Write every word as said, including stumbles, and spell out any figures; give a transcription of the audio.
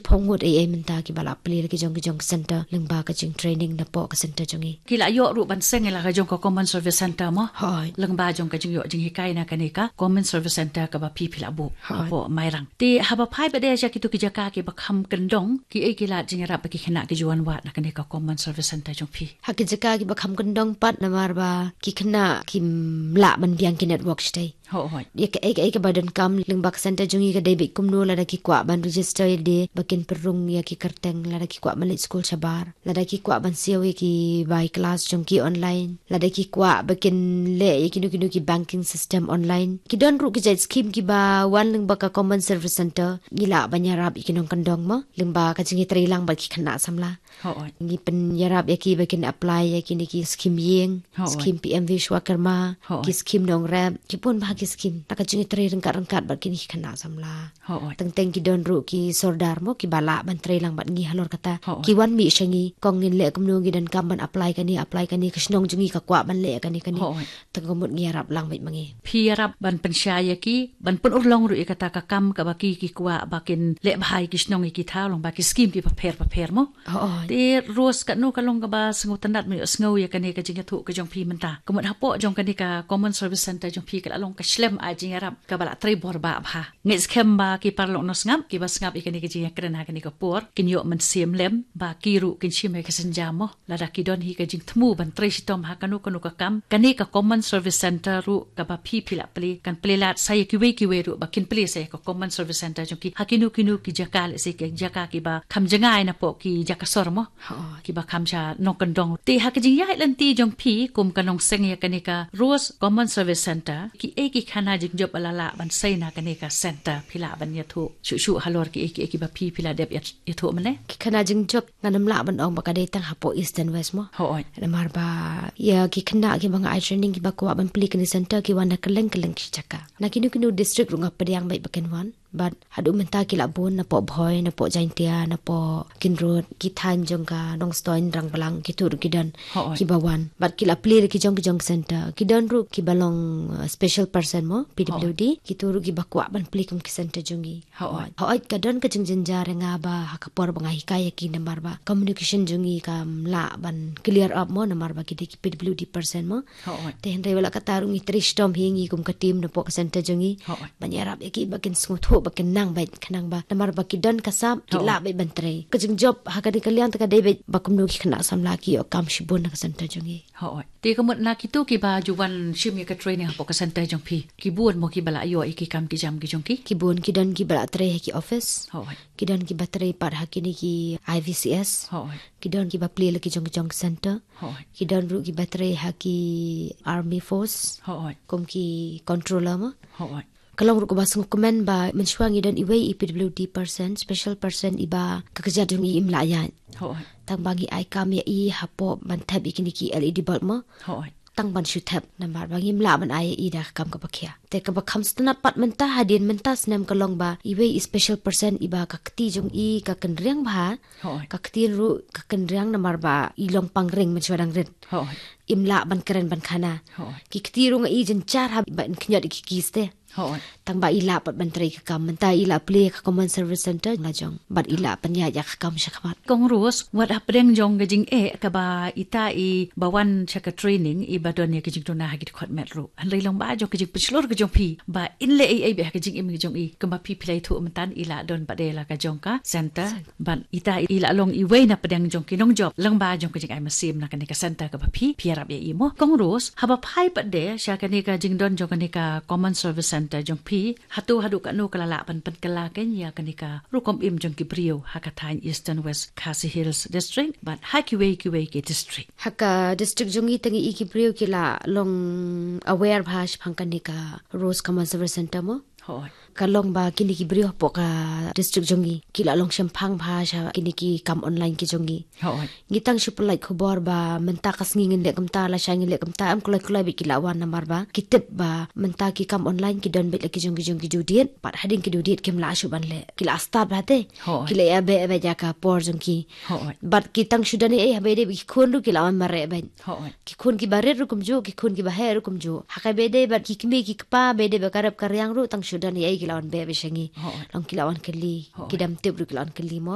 Pyngut ei ei mynta kiba la plie la ki jong ki jong ka center lyngba ka jing training napoh ka center jong i. Ki la ïoh ruh ban seng ïa la ka jong ka Common Service Center mo. Hooid. Lyngba jong ka jingïoh jinghikai na kane ka Common Service Center kaba phi phi la buh. Hooid. Hapoh Mairang. Te haba phai pat de sha kito ki jaka kiba kham kyndong, ki ei ki lad jingïarap ba ki khynnah ki ju wan wad na kane ka Common Service Center jong phi? Ha ki jaka kiba kham kyndong pat namar ba ki khynnah kim lah ban biang ki network shatei. Hooid. Ïa kaei kaei kaba donkam lyngba ka center jong i ka dei beit kumno, lada ki kwah ban register ïa lade ba kin pynrung ïa ki kyrteng, lada ki kwah ban leit skul shabar, lada ki kwah ban siew ïa ki bai class jong ki online, lada ki kwah ba kin leh ïa kino kino ki banking system online. Ki don ruh ki jait skim kiba wan lyngba ka Common Service Center, ngi lah ban ïarap ïa ki nongkyndong mo lyngba ka jingïatreilang bad ki khynnah samla. Hooid. Ngi pynïarap ïa ki ba kin apply ïa kine ki skim ïing, hooid, skim P M Vishwakarma, hooid, ki skim nongrep, ki bun bah ki skim. Na ka jingïatrei ryngkat ryngkat bad kine ki khynnah samla. Hooid. Teng teng ki don ruh ki sordar mo kiba lah ban treilang bad ngi halor kata. Hooid. Ki wan mih sha ngi, kong ngin leh kumno, ngi donkam ban apply kane, apply kane, ka shnong jong ngi ka kwah ban leh kane kane. Hooid. Tang ka mut ngi ïarap lang beit ma ngi. Phi ïarap ban pynshai ïa ki, ban pynurlong ruh ïa kata ka kam kaba ki ki kwah ba kin leh bha ïa ki shnong ïa ki thaw lyngba ki skim kiba pher bapher mo. Hooid. Te Rose, katno ka long kaba sngewtynnat mynta ïohsngew ïa kane ka jingïathuh ka jong phi mynta. Ka mut hapoh jong kane ka Common Service Center jong phi ka la long ka shlem ai jingïarap kaba la trei bor bah bha. Ngeit skhem ba ki paralok nongsngap kiba sngap ïa kane ka jingïakren ha kane ka por kin ïoh mynsiem lem ba ki ruh kin shim ïa ka synjam mo. Lada ki don hi ka jingthmu ban trei shitom ha kano kano ka kam, kane ka Common Service Center ruh kaba phi phi la plie kan plie lad sa ïa kiwei kiwei ruh ba kin plie sa ïa ka Common Service Center jong ki ha kino kino ki jaka, lehse ki jaka kiba kham jngai napoh ki jaka sor mo. Hooid. Kiba kham sha nongkyndong. Te ha ka jingïaid lynti jong phi kum ka nongseng ïa kane ka Rose Common Service Center, ki ei ki khana jingjop ba la lah ban sei na kane ka center, phi lah ban ïathuh shuh shuh halor ki ei ki ei kiba phi phi la dep ïat- ïathuh mynne? Ki khana jingjop ngan ym lah ban ong ba ka dei tang hapoh East and West mo. Hooid. Namar ba ïa ki khynnah kiba nga ai training kiba kwah ban plie kane center ki wan na kylleng kylleng ki jaka. Na kino kino district ruh nga pdiang beit ba kin wan. Bad haduh mynta ki la bun napoh Bhoi, napoh Jaintia, napoh Kinrut, ki thaiñ jong ka Nongstoiñ, Rangblang, kito ruh ki don, hooid, kiba wan. Bad ki la plie la ki jong ki jong center. Ki don ruh kiba long, uh, special person mo, P W D. Hooid. Kito ruh kiba kwah ban plie kum ki center jong i. Hooid. Hooid, ka don ka jingjynjar ïa nga ba ha ka por ba nga hikai ïa ki namar ba communication jong i kam lah ban clear up mo namar ba ki dei ki P W D person mo. Hooid. Te hynrei wat la katta ruh ngi trei shitom hi ngi kum ka team napoh ka center jong i. Hooid. Ban ïarap ïa ki ba kin sngewthuh ba kin nang beit khnang ba namar ba ki don ka sap ki, hooid, lah beit ban trei. Ka jingjop ha kane ka liang te ka dei beit ba kumno ki khynnah samla ki ïoh kam shibun na ka center jong i. Hooid. Te ka mut na kito kiba ju wan shim ïa ka training hapoh ka center jong phi, ki bun mo kiba la ïoh ïa ki kam ki jam ki jong ki? Ki bun, ki don kiba la trei ha ki office. Hooid. Ki don kiba trei pat ha kine ki I V C S. Hooid. Ki don kiba plie la ki jong ki jong center. Hooid. Ki don ruh kiba trei ha ki army force. Hooid. Kum ki controller mo. Hooid. Ka long ruh kaba sngewkmen ba mynshuwa ngi don iwei i P W D person, special person iba ka kjat jong i im lah ïaid. Hooid. Tang ba ngi ai kam ïa i hapoh ban thep ïa kine ki L E D bulb mo. Hooid. Tang ban shu thep namar ba ngim lah ban ai ïa i da ka kam kaba khia. Te kaba kham sngewtynnat pat mynta hadien mynta snem ka long ba iwei i special person iba ka kti jong i ka kynriang bha. Hooid. Ka ktien ruh ka kynriang namar ba i long pangring mynshuwa dang rit. Hooid. Im lah ban kren ban khana. Hooid. Ki kti ruh nga i jynjar haba in khñiot ïa ki kis te. Hooid. Tang ba i lah pat ban trei ka kam, mynta i lah plie ka Common Service Center la jong bad i lah pynïaid ïa ka kam shakhmat. Kong Rose, wat hapdeng jong ka jingeh kaba ita iba wan sha ka training iba don ïa ka jingduna ha ki dkhot met ruh, hynrei long ba jong ka jingpynshlur ka jong phi ba in leh ei ei beit ha ka jingim ka jong i, kumba phi phi la ïathuh mynta, i lah don pat de la ka jong ka center. Bad ita i lah long iwei na pdeng jong ki nongjop lyngba jong ka jingai mynsiem na kane ka center kaba phi phi ïarap ïa i mo. Kong Rose, haba phai pat de sha kane ka jingdon jong kane ka Common Service Center jong phi, hato haduh katno ka la lah ban pynkylla kein ïa kane ka rukom im jong ki briew ha ka thaiñ Eastern West Khasi Hills District bad ha kiwei kiwei ki district? Ha ka district jong i tang i ki briew ki la long aware bha shaphang kane ka Rose Common Service Center mo. Hooid. Ka long ba kine ki briew hapoh ka district jong i ki la long shemphang bha sha kine ki kam online ki jong i. Hooid. Ngi tang shu pynlait khubor ba mynta ka sngi ngin leh kumta, lashai ngin leh kumta, em kloi kloi beit ki la wan namar ba ki tip ba mynta ki kam online ki don beit la ki jong ki jong ki due date, bad hadien ki due date kim lah shuh ban leh. Ki la start bha te. Hooid. Ki la ïa beh beit ïa ka por jong ki. Hooid. Bad ki tang shu don ei ei, haba ïadei bad ki khun ruh ki la wan mareh beit. Hooid. Ki khun kiba rit ruh kumjuh, ki khun kiba heh ruh kumjuh. Ha kaba ïadei bad ki kmie ki kpa, ba ïadei bad ka rep ka riang ruh tang shu don ei ei ki la wan beh beit sha ngi. Hooid. Long ki la wan kylli. Hooid. Ki dam tip ruh ki la wan kylli mo.